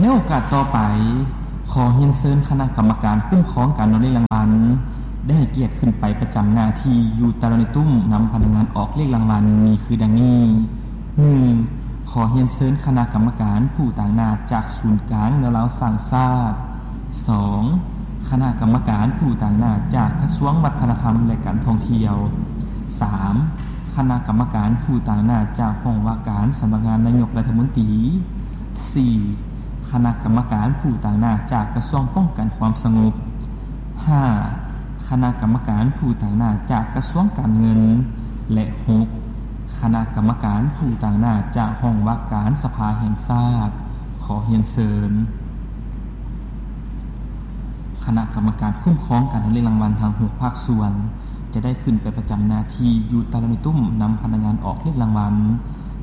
ໃນໂອກາດຕໍ່ໄປ, ຂໍຮຽນເຊີນຄະນະກຳມະການຄຸ້ມຄອງການອອກເລກລາງວັນ ໄດ້ໃຫ້ກຽດຂຶ້ນໄປປະຈຳໜ້າທີ່ຢູ່ຕາລາງໜ່ວຍຕຸ້ມນຳພະນັກງານອອກເລກລາງວັນ ມີຄືດັ່ງນີ້. ໜຶ່ງ, ຂໍຮຽນເຊີນຄະນະກຳມະການຜູ້ຕາງໜ້າຈາກສູນກາງແນວລາວສ້າງຊາດ. ສອງ, ຄະນະກຳມະການຜູ້ຕາງໜ້າຈາກກະຊວງວັດທະນະທຳ ແລະ ການທ່ອງທ່ຽວ. ສາມ, ຄະນະກຳມະການຜູ້ຕາງໜ້າຈາກຫ້ອງວ່າການສຳນັກງານນາຍົກລັດຖະມົນຕີ. ສີ່, ຄະນະກຳມະການຜູ້ຕາງໜ້າຈາກກະຊວງປ້ອງກັນຄວາມສະຫງົບ. ຫ້າ, ຄະນະກຳມະການຜູ້ຕາງໜ້າຈາກກະຊວງການເງິນ. ແລະ ຫົກ, ຄະນະກຳມະການຜູ້ຕາງໜ້າຈາກຫ້ອງວ່າການສະພາແຫ່ງຊາດ. ຂໍຮຽນເຊີນ ຄະນະກຳມະການຄຸ້ມຄອງການອອກເລກລາງວັນທັງຫົກພາກສ່ວນ ຈະໄດ້ຂຶ້ນໄປປະຈຳໜ້າທີ່ຢູ່ຕາລາງໜ່ວຍຕຸ້ມນຳພະນັກງານອອກເລກລາງວັນ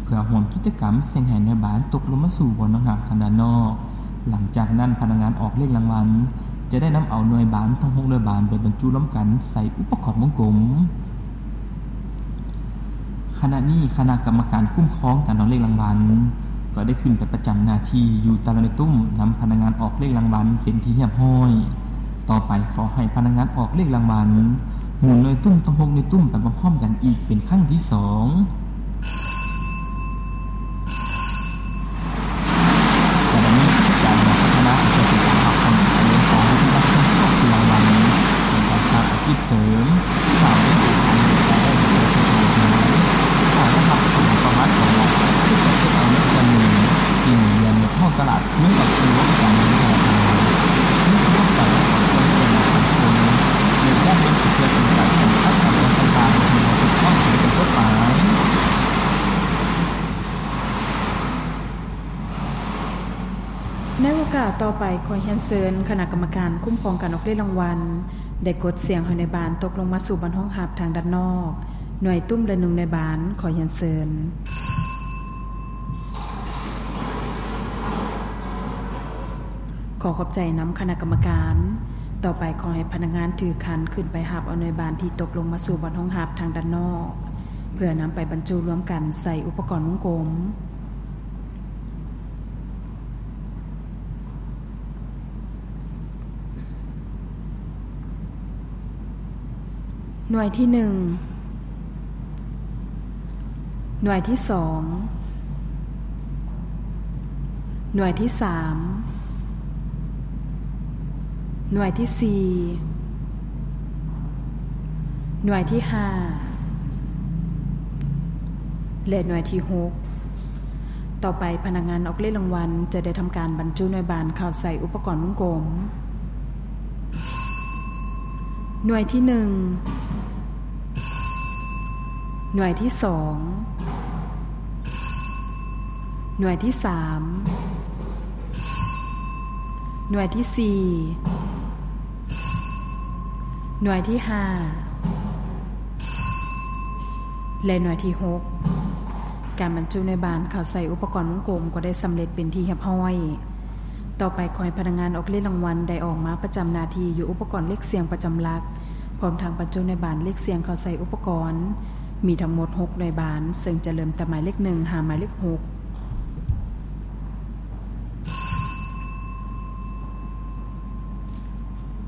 ເພື່ອຮ່ວມກິດຈະກຳສ່ຽງໃຫ້ນາຍບານຕົກລົງມາສູ່ບ່ອນຮອງຮັບທາງດ້ານນອກ. ຫຼັງຈາກນັ້ນ, ພະນັກງານອອກເລກລາງວັນຈະໄດ້ນຳເອົາໜ່ວຍບານທັງຫົກໜ່ວຍບານໄປບັນຈຸລວມກັນໃສ່ອຸປະກອນວົງກົມ. ຂະນະນີ້ຄະນະກຳມະການຄຸ້ມຄອງການອອກເລກລາງວັນ ກໍໄດ້ຂຶ້ນໄປປະຈຳໜ້າທີ່ຢູ່ຕາລາງໜ່ວຍຕຸ້ມນຳພະນັກງານອອກເລກລາງວັນເປັນທີ່ຮຽບຮ້ອຍ. ຕໍ່ໄປຂໍໃຫ້ພະນັກງານອອກເລກລາງວັນໝູນໜ່ວຍຕຸ້ມທັງຫົກໜ່ວຍຕຸ້ມໄປພ້ອມໆກັນອີກເປັນຄັ້ງທີສອງ. ຈາກນັ້ນ ຄະນະຈະຕິດຕາມຮັບຄຳສະເໜີຂອງວິທະຍາທີ່ຮັບຜິດຊອບລາງວັນໃນການສ້າງອາຊີບເສີມ, ສ້າງເປັນໂອກາດໃຫ້ແກ່ປະຊາຊົນ. ຖ້າໄດ້ຮັບຄວາມປະໝາດຂອງລັດ, ຈະເຮັດເອົາເງິນສ່ວນໜຶ່ງທີ່ໝູນວຽນໃນທ້ອງຕະຫຼາດຄືນກັບສູ່ລັດການເງິນທະນາຄານ. ມີຄວາມປະໝາດຂອງສ່ວນໜຶ່ງຂອງຄົນໃນດ້ານເງິນເພື່ອເປັນການປ້ອງກັນການກະທຳທີ່ບໍ່ຖືກຕ້ອງເປັນຕົ້ນໄປ. ໃນໂອກາດຕໍ່ໄປ, ຂໍຮຽນເຊີນຄະນະກຳມະການຄຸ້ມຄອງການອອກເລກລາງວັນ ໄດ້ກົດສ່ຽງໃຫ້ໜ່ວຍບານຕົກລົງມາສູ່ບ່ອນຮອງຮັບທາງດ້ານນອກ, ໜ່ວຍຕຸ້ມລະໜຶ່ງໜ່ວຍບານ. ຂໍຮຽນເຊີນ. ຂໍຂອບໃຈນຳຄະນະກຳມະການ. ຕໍ່ໄປ, ຂໍໃຫ້ພະນັກງານຖືຄັນຂຶ້ນໄປຮັບເອົາໜ່ວຍບານທີ່ຕົກລົງມາສູ່ບ່ອນຮອງຮັບທາງດ້ານນອກ ເພື່ອນຳໄປບັນຈຸລວມກັນໃສ່ອຸປະກອນວົງກົມ. ໜ່ວຍທີໜຶ່ງ, ໜ່ວຍທີສອງ, ໜ່ວຍທີສາມ, ໜ່ວຍທີສີ່, ໜ່ວຍທີຫ້າ ແລະ ໜ່ວຍທີຫົກ. ຕໍ່ໄປ, ພະນັກງານອອກເລກລາງວັນຈະໄດ້ທຳການບັນຈຸໜ່ວຍບານເຂົ້າໃສ່ອຸປະກອນວົງກົມ. ໜ່ວຍທີໜຶ່ງ, ໜ່ວຍທີສອງ, ໜ່ວຍທີສາມ, ໜ່ວຍທີສີ່, ໜ່ວຍທີຫ້າ ແລະ ໜ່ວຍທີຫົກ. ການບັນຈຸໜ່ວຍບານເຂົ້າໃສ່ອຸປະກອນວົງກົມກໍໄດ້ສຳເລັດເປັນທີ່ຮຽບຮ້ອຍ. ຕໍ່ໄປ, ຂໍໃຫ້ພະນັກງານອອກເລກລາງວັນໄດ້ອອກມາປະຈຳໜ້າທີ່ຢູ່ອຸປະກອນເລກສ່ຽງປະຈຳຫຼັກ, ພ້ອມທັງບັນຈຸໜ່ວຍບານເລກສ່ຽງເຂົ້າໃສ່ອຸປະກອນ. ມີທັງໝົດຫົກໜ່ວຍບານ, ເຊິ່ງຈະເລີ່ມແຕ່ໝາຍເລກໜຶ່ງຫາໝາຍເລກຫົກ.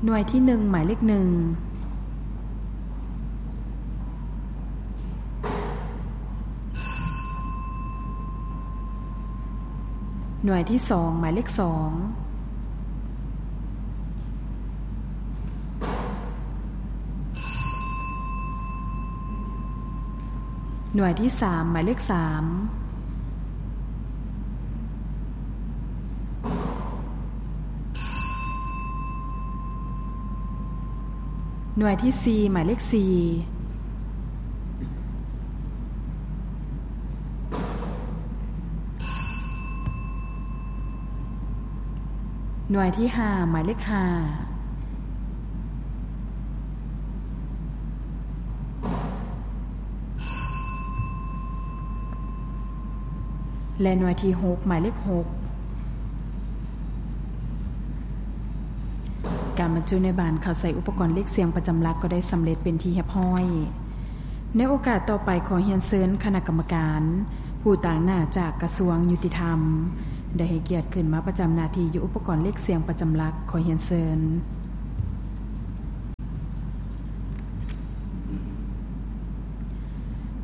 ໜ່ວຍທີໜຶ່ງ, ໝາຍເລກໜຶ່ງ. ໜ່ວຍທີສອງ, ໝາຍເລກສອງ. ໜ່ວຍທີສາມ, ໝາຍເລກສາມ. ໜ່ວຍທີສີ່, ໝາຍເລກສີ່. ໜ່ວຍທີຫ້າ, ໝາຍເລກຫ້າ. ແລະ ໜ່ວຍທີຫົກ, ໝາຍເລກຫົກ. ການບັນຈຸໜ່ວຍບານເຂົ້າໃສ່ອຸປະກອນເລກສ່ຽງປະຈຳຫຼັກກໍໄດ້ສຳເລັດເປັນທີ່ຮຽບຮ້ອຍ. ໃນໂອກາດຕໍ່ໄປ, ຂໍຮຽນເຊີນຄະນະກຳມະການຜູ້ຕາງໜ້າຈາກກະຊວງຍຸຕິທຳ ໄດ້ໃຫ້ກຽດຂຶ້ນມາປະຈຳໜ້າທີ່ຢູ່ອຸປະກອນເລກສ່ຽງປະຈຳຫຼັກ. ຂໍຮຽນເຊີນ.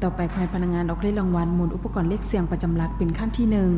ຕໍ່ໄປ ຂໍໃຫ້ພະນັກງານອອກເລກລາງວັນໝູນອຸປະກອນເລກສ່ຽງປະຈຳຫຼັກເປັນຄັ້ງທີໜຶ່ງ.